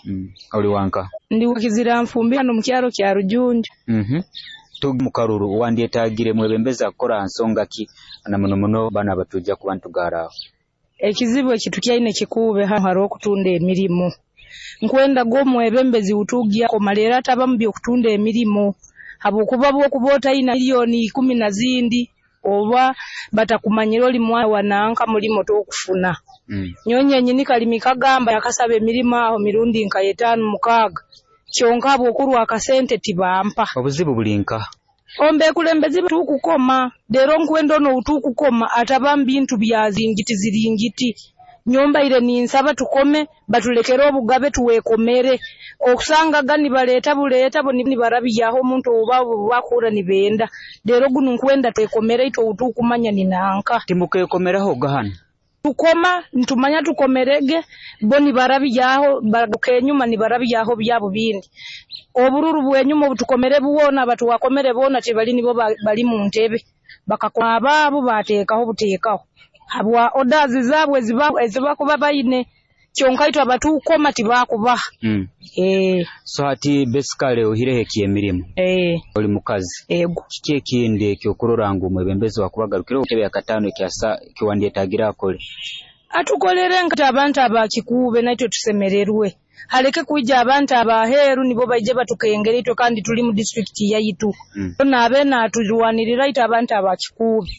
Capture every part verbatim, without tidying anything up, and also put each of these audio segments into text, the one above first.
Mm. Oli wanka? Ndi Kiziranfumbi hanu mukyaro kya Rujunju. Mhm. Tuge mukaruru wandyetagire mwebembezi akukora ha nsonga ki na muno muno banu abatujja kuba ntugaraaho? Ekizibu ekitukyaine Kikuube hanu haroho kutunda emirimo. Nkwendaga omwebembezi wutugya akoma leero ataba mu by'okutunda emirimo, habwokuba obu okuba otaina milioni ikumi na zindi oba batakumanyire oli mwana wa nanka mulimo tokufuna. Mm. Nyowe nyenyini kalimi kagamba nakasaba emirimo aho mirundi nka etaano mukaaga kyonka habw'okurwa akasente tibampa. Obuzibu buli nkaha? Omu beekulembezi tukukoma leero nkwenda onu ou tukukoma ataba mu bintu bya ziringiti ziringiti. Nyowe mbaire ninsaba tukome batulekere obugabe twekomere okusangaga nibaleeta buleeta bo nibarabyaho omuntu ou bo bakuhurra nibenda leero gunu nkwenda twekomere itwe ou tukumanya ni nanka. Timukeekomerahoga hanu? Tukoma ntumanya tukomerege bo nibarabyaho bagaruka enyuma nibarabyaho byabo bindi. Obururu bw'enyuma obu tukomere bwona abatwakomere boona tibali nibo ba bali mu ntebe bakakoma abaabo baateekaho buteekaho habwa orders zaabo eziba ezibakuba baine kyonka itwe abatukoma tibakubaha. Mm. Eeh. So hati basically oihireho eky'emirimu. Eeh. Oli mukazi. Ego. Kiki ekindi eky'okurora ngu omwebembezi owaakuba agarukireho entebe yakataano ekyasa ekiwandyetagire akole? Atukolere nka abantu aba Kikuube naitwe tusemererwe haleke kwija abantu ab'aheeru nibo baije batukengere itwe kandi tuli mu disitulikiti yaitu. Mm. Naabe naaturwanirira itwe abantu aba Kikuube.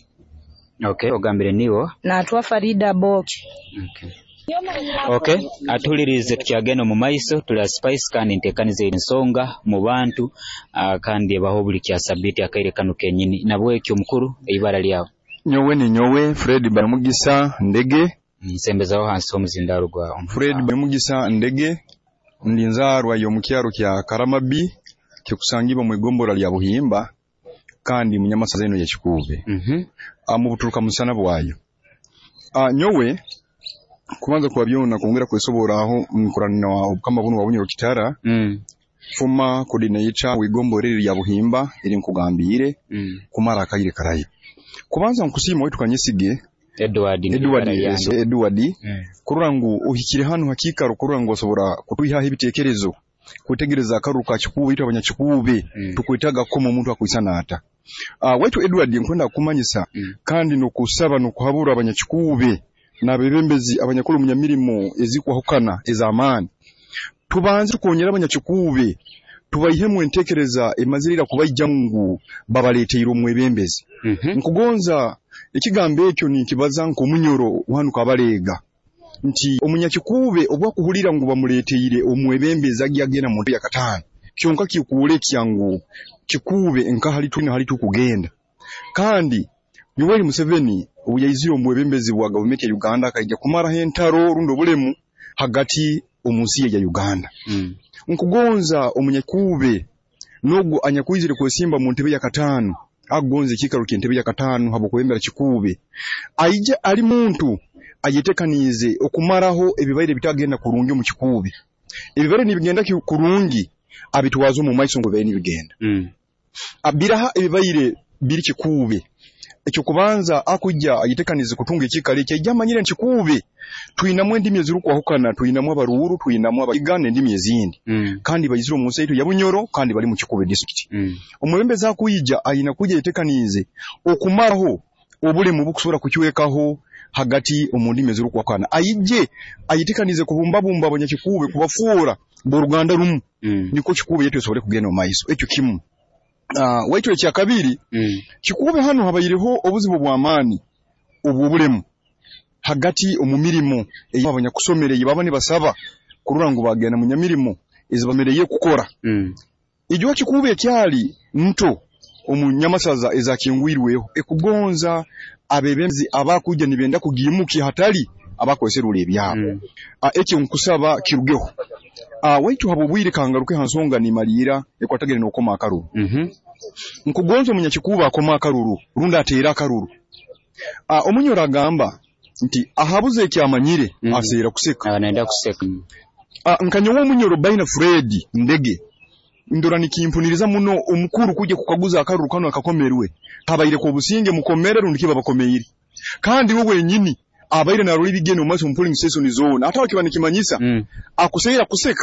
Okay, ogambire niiwe? Naatwa Farida Aboki. Okay. Okay, atuhuliriize tukyagenda omu maiso tuli ha Spice kandi nteekaniza ensonga mu bantu uh, kandi ebaho buli kya sabbiiti akaire kanu kenyini. Nabwekyo mukuru ibara lyawe? Nyowe ninyowe Fred Banomugisa Ndege. Nsembezaho hansi omuzindaaro gwawe. Fred Banomugisa Ndege ndi nzaarwa y'omu kyaro kya Karamabi kikusangibwa omwigombora lya Buhimba kandi munyamasaza enu eya Kikuube. Mhm. Omu buturuka musana bwayo. Ah nyowe kubanza kwa byona kwongera kwesoboraaho nkurana obukama bunu bwa Bunyoro Kitara Mm. former coordinator w'igombora eri erya Buhimba erinkugambiire Mm. kumara akaire karaihi. Kubanza nkusiima waitu Kanyesige Edward Edward ibara lyange. Edward Mm. kurora ngu ohikire hanu ha kiikaro kurora ngu osobora kutwihaho ebiteekerezo kwetegereza akaruru ka Kikuube itwe abanyakikuube Mm. tukwetaaga kukoma omuntu akwisana ata. Ah waitu Edward nkwenda kukumanyisa Mm. kandi n'okusaba n'okuhabura abanyakikuube n'abeebembezi abanyakuli omu nyamirimo ezikwahukana ez'amaani tubanze tukonyere abanyakikuube tubaihemu enteekereza emazire ira kubaijamu ngu babaleeteire omwebembezi. Mhm. Nkugonza ekigambo ekyo ninkibaza nk'omunyoro wanu Kabalega nti omunyakikuube obu akuhulira ngu bamuleeteire omwebembezi agya agenda mu ntebe yakataano kyonka kikwolekya ngu Kikuube nka hali twina hali tukugenda kandi Yoweri Museveni obu yaizire omu bwebembezi bwa gavumenti ya Uganda akaija kumaraho entaro rundi obulemu hagati omunsi ye eya Uganda. Mm. Nkugonza omunyakikuube n'ogu anyakwizire kwesimba mu ntebe yakataano akugonza ekiikaro ky'entebe yakataano habw'okwebembera Kikuube aije ali muntu ayetekaniize okumaraho ebibaire bitagenda kurungi omu Kikuube. Ebibaire nibigenda kurungi abitwaze omu maiso ngu bibaire nibigenda. Mm. Biraha ebibaire biri Kikuube eky'okubanza akujja ayetekaniize kutunga ekiikaro eki aije amanyire nti Kikuube twinamu endimi ezirukwahukana twinamu Abaruuru twinamu Abakiga n'endimi ezindi Mm. kandi baizire omunsi yaitu eya Bunyoro kandi bali mu Kikuube disitulikiti. Mm. Omwebembezi akwija aina kwija ayetekaniize okumaraho obulemu obukusobora kucwekaho hagati omu ndimi ezirukwahukana aije ayetekaniize kubumbabumba abanyakikuube kubafoora b'oruganda rumu Mm. nikwo Kikuube yaitu esobole kugenda omu maiso ekyo kimu. Ah waitu ekyakabiri Mm. Kikuube hanu habaireho obuzibu bw'amaani obw'obulemu hagati omu mirimo ei abanyakusomere ei baba nibasaba kurora ngu bagenda mu nyamirimo ezibamereire kukora. Mm. Ijuka Kikuube ekyali nto omu nyamasaza ezakingwirweho ekugonza abeebembezi abakwija nibenda kugiimukya hatali abakweserura ebyabo. Mm. Ah ekyo nkusaba kirugeho. Ah waitu habw'obwire kangaruke ha nsonga nimaliira ekwatagaine n'okukoma akaruru. Mhm. Nkugonza omunyakikuube akome akaruru rundi ateere akaruru. Ah omunyoro agamba nti ahabuze ekyamanyire Mm. aseera kuseka. Aba nayenda kuseka. Ah nka nyowe omunyoro Baina Fred Ndege ndora nikimpuniriza muno omukuru kujja kukaguza akaruru kanu akakomerwe kabaire k'obusinge mukomere rundi ki babakomeire kandi we wenyini abaire narora ebigenda omu maiso omu polling station zoona ate aho kiba nikimanyisa Mm. akuseera kuseka.